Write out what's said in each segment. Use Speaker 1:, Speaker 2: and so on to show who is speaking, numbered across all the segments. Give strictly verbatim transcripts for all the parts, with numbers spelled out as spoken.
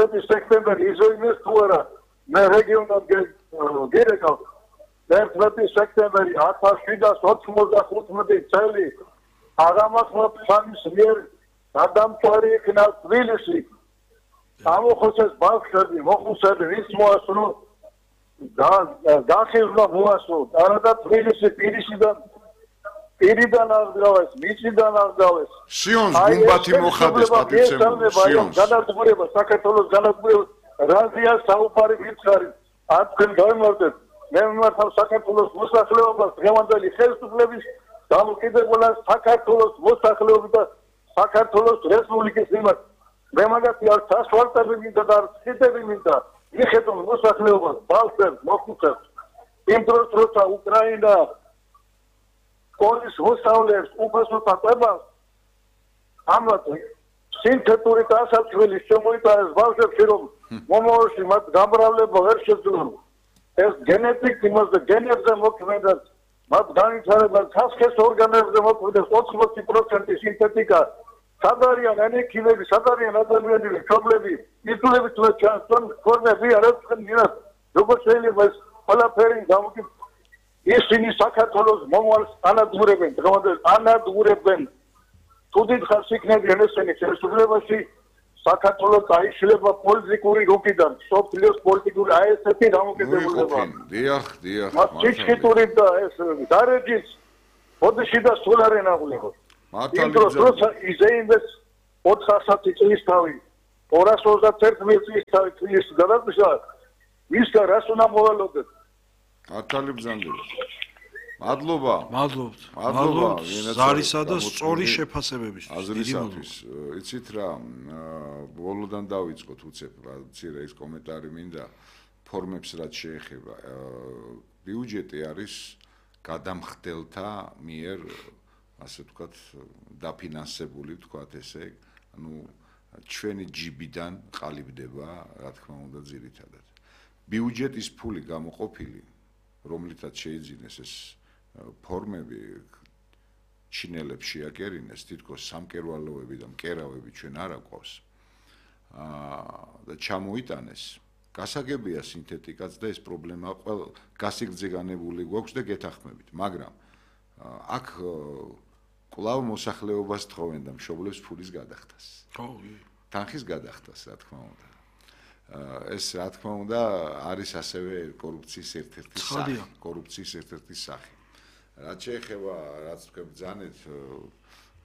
Speaker 1: მეთერთმეტი სექტემბერი იზოიმეს თუ არა მე რეგიონად გერეკავ მეთერთმეტი სექტემბერი ათას შვიდას ოცდახუთმეტი წელი აღამახლა ფანის მიერ გადამწვარი იქნა თბილისი ამოხოცეს ბავშვები მოხუცები ვის მოასწრო გახიზნა მოასწრო არადა თბილისი პირისიდან პირიდან აღგავეს მიწიდან აღგავეს
Speaker 2: სიონს გუმბათი მოხადეს პატივცემული სიონს
Speaker 1: განადგურება საქართველოს განადგურება რაზია საუბარი ვიცხარი თქვენ გამიმართეთ მე მიმართავ საქართველოს მოსახლეობას დღევანდელი ხელისუფლების დამოკიდებულებას საქართველოს მოსახლეობის და საქართველოს რესპუბლიკის მიმართ მე მაგათი არ სასვარტები მინდა და არ ციტები მინდა მიხედავ მოსახლეობას ბავშვებს მოხუცებს იმ დროს როცა უკრაინა სკოლის მოსავლეებს უფასოთა ყვებას ამათ სინთეტური დასაცველი შემოიტანეს ბავშვებში რომ მომავალში მათ გამრავლება ვერ შეძლონ ეს გენეტიკ იმაზე გენებზე მოქმედებს მათ განვითარება სასქესო ორგანოებზე მოქმედებს ოცდაოთხ პროცენტი სინთეტიკა სადარიან ენექიმები სადარიან ადამიანები პრობლემები იტულებით თუ ჩანს ფორმები არაფერი ნიას როგორც შეიძლება ეს ყველაფერი გამოგი ისინი საქართველოს მომავალს ანადგურებენ დღევანდელ ანადგურებენ თუ დიდხანს იქნებიან ესენი ხელისუფლებაში საქართველოს დაიშლება პოლიტიკური რუკიდან სოფლიოს პოლიტიკური აი ესეთი დამოკიდებულება
Speaker 2: დიახ დიახ
Speaker 1: მათ ჩიჩხიტური და ეს დარეჯის ბოდიში და სულარენ აღულიყო მართალია იზეინდეს ოთხასი წლის თავი ორას ოცდაერთი წლის თავი წლის გადაგიშვა ის და რას უნდა მოვალოდეთ
Speaker 2: მართალი ბრძანდება მადლობა
Speaker 3: მადლობთ
Speaker 2: მადლობა
Speaker 3: ზარისა და სწორი შეფასებებისთვის
Speaker 2: აზრისათვის იცით რა ბოლოდან დავიწყოთ უცებ რა ცირა ის კომენტარი მინდა ფორმებს რაც შეეხება ბიუჯეტი არის გადამხდელთა მიერ ასე ვთქვათ დაფინანსებული ვთქვათ ესე ანუ ჩვენი ჯიბიდან ყალიბდება რა თქმა უნდა ძირითადად ბიუჯეტის ფული გამოყოფილი რომლითაც შეიძინეს ეს ფორმები ჩინელებს შეაკერინეს თითქოს სამკერვალოები და მკერავები ჩვენ არ აყვავს და ჩამოიტანეს გასაგებია სინთეტიკაც და ეს პრობლემა ყველა გასიგრძე განებული გვაქვს და გეთანხმებით მაგრამ აქ კვლავ მოსახლეობას თხოვენ და მშობლებს ფულის გადახდას
Speaker 3: ხო
Speaker 2: თანხის გადახდას რა თქმა უნდა ეს რა თქმა უნდა არის ასევე კორუფციის ერთ-ერთი სახე კორუფციის ერთ-ერთი სახე რაც შეეხება რაც თქვენ ბრძანეთ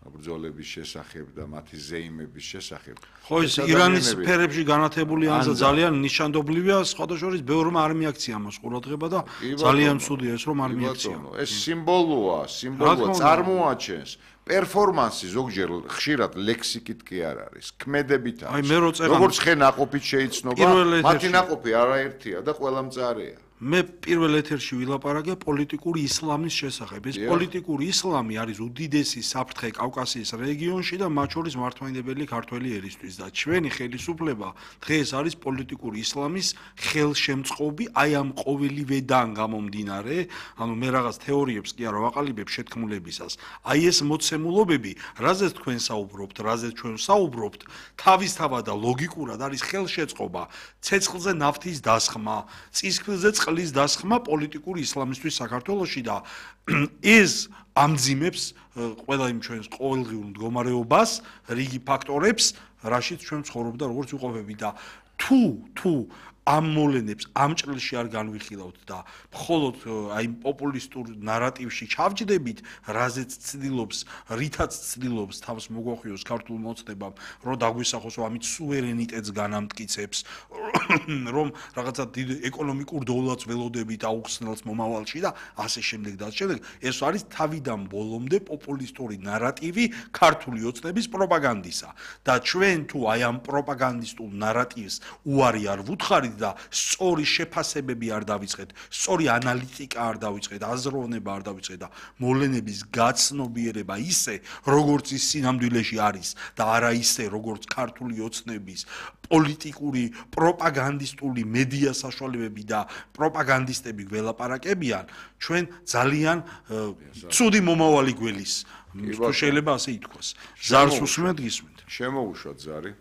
Speaker 2: ბრძოლების შესახებ და მათი ზეიმების შესახებ
Speaker 3: ხო ეს ირანის სფერებში განათებული ანზა ძალიან ნიშანდობლივია სხვადასხვა ბევრმა არ მიაქცია მას ყურადღება და ძალიან ცუდია ეს რომ არ მიაქცია
Speaker 2: ეს სიმბოლოა სიმბოლოა წარმოაჩენს პერფორმანსი ზოგჯერ ხშირად ლექსიკით კი არ არის ქმედებით არის როგორც ხე ნაყოფით შეიცნობა მათი ნაყოფი არაერთია და ყველა მწარეა
Speaker 3: მე პირველ ეთერში ვილაპარაკე პოლიტიკური ისლამის შესახებ. ეს პოლიტიკური ისლამი არის უდიდესი საფრთხე კავკასიის რეგიონში და მათ შორის მართლმადიდებელი ქართველი ერისთვის და ჩვენი ხელისუფლება დღეს არის პოლიტიკური ისლამის ხელშემწყობი აი ამ ყოველივედან გამომდინარე, ანუ მე რაღაც თეორიებს კი არ ვაყალიბებ შეთქმულებისას. აი ეს მოცემულობები, რაზეც თქვენ საუბრობთ, რაზეც ჩვენ საუბრობთ, თავისთავად და ლოგიკურად არის ხელშეწყობა, ცეცხლზე ნავთის დასხმა, წისქვილზე წყლის დასხმა პოლიტიკური ისლამისთვის საქართველოში და ეს ამძიმებს ყველა იმ ჩვენს ყოველდღიურ მდგომარეობას, რიგი ფაქტორებს, რაშიც ჩვენ ცხოვრობ და როგორც ვიყოფები და თუ თუ ამ მოვლენებს ამ ჭრილში არ განვიხილავთ და მხოლოდ აი პოპულისტურ ნარატივში ჩავჯდებით, რაზეც ცდილობს, რითაც ცდილობს თავს მოგვახვიოს ქართულ მოცნებამ, რომ დაგვისახოს, რომ ამით სუვერენიტეტს განამტკიცებს, რომ რაღაცა დიდ ეკონომიკურ დოვლათს ველოდებით აუხსნელს მომავალში და ასე შემდეგ და ასე შემდეგ. ეს არის თავიდან ბოლომდე პოპულისტური ნარატივი ქართული ოცნების პროპაგანდისა და ჩვენ თუ აი ამ პროპაგანდისტულ ნარატივს უარი არ ვუთხარით და სწორი შეფასებები არ დავიწყეთ, სწორი ანალიტიკა არ დავიწყეთ, აზროვნება არ დავიწყეთ და მოვლენების გაცნობიერება ისე, როგორც ის სინამდვილეში არის და არა ისე, როგორც ქართული ოცნების პოლიტიკური პროპაგანდისტული მედია საშუალებები და პროპაგანდისტები გველაპარაკებიან, ჩვენ ძალიან ცუდი მომავალი გველის. თუ შეიძლება ასე ითქვას. ზარს უსმენთ, გისმენთ.
Speaker 2: შემოუშვათ ზარი.